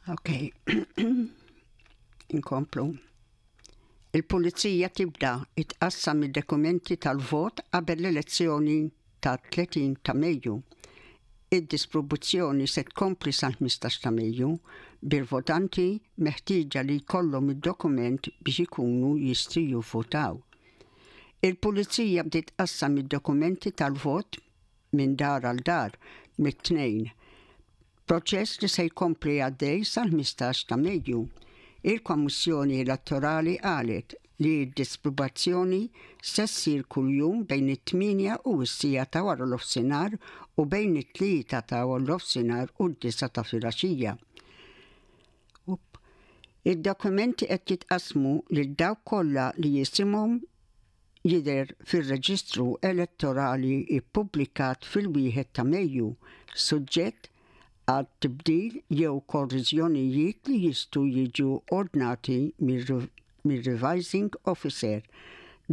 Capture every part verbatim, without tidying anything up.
Ok, inkomplu. Il-pulizija tibda tqassam id-dokumenti tal-vot qabel l-elezzjoni ta' tletin ta' Mejju. Id-distribuzzjoni se tkompli sal-ħmistax ta' Mejju, bil-votanti meħtieġa li jkollhom id-dokument biex ikunu jistgħu jivvotaw. Il-pulizija bdiet tqassam id-dokumenti tal-vot minn dar għal dar mit-Tnejn. Proċess li se jkompli għaddej sal-ħmistax ta' Mejju. Il-Kommissjoni Elettorali qalet li d-distribuzzjoni se ssir kuljum bejn it-tmienja u s-siegħa ta' wara nofsinhar u bejn it-tlieta ta' nofsinhar u d-disgħa ta' filgħaxija. Id-dokumenti qed jitqasmu lil dawk kollha li jisimhom jidher fir-reġistru elettorali ippubblikat fil-wieħed ta' Mejju, suġġett għal tibdil jew korrezzjonijiet li jistgħu jiġu ordnati mir-revising officer.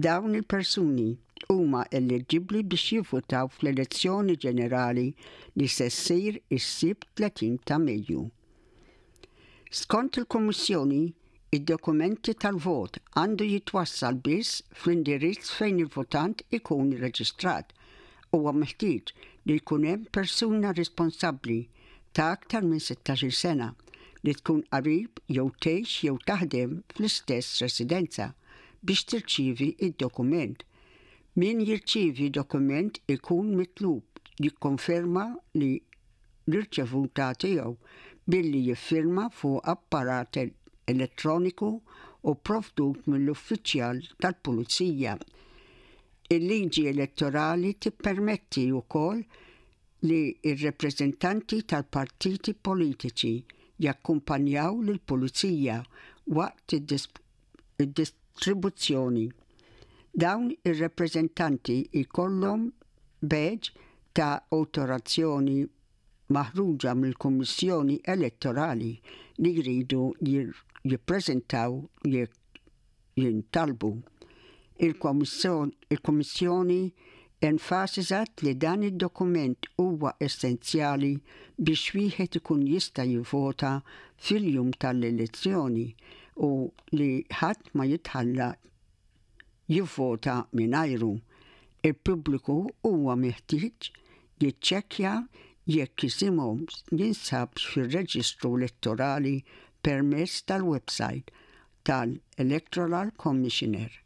Dawn il-persuni huma eliġibbli biex jivvutaw fl-elezzjoni ġenerali li se ssir is-Sibt tletin ta' Mejju. Skont il-Kummissjoni, id-dokumenti tal-vot għandu jitwassal biss fl-indirizz fejn il-votant ikun irreġistrat. Huwa meħtieġ li jkun hemm persuna responsabbli ta' aktar minn sittax-il sena li tkun qarib jew tgħix jew taħdem fl-istess residenza biex tirċievi id-dokument. Min jirċievi dokument ikun mitlub jikkonferma li l-irċevuta tiegħu billi jiffirma fuq apparat elettroniku u provdut mill-uffiċjal tal-Pulizija. Il-liġi elettorali tippermetti wkoll li r-rappreżentanti tal-partiti politiċi jakkumpanjaw lill-pulizija waqt id-distribuzzjoni. Dawn ir-rappreżentanti jkollhom badge ta' awtorizzazzjoni maħruġa mill-Kummissjoni Elettorali li jridu jippreżentaw jekk jintalbu. Il-Kummissjoni enfasizzat li dan id-dokument huwa essenzjali biex wieħed ikun jista' jivvota fil-jum tal-elezzjoni u li ħadd ma jitħalla jivvota mingħajru. Il-pubbliku huwa meħtieġ jiċċekkja jekk isimhom jinsabx fir-reġistru elettorali permezz tal-website tal-Electoral Commissioner.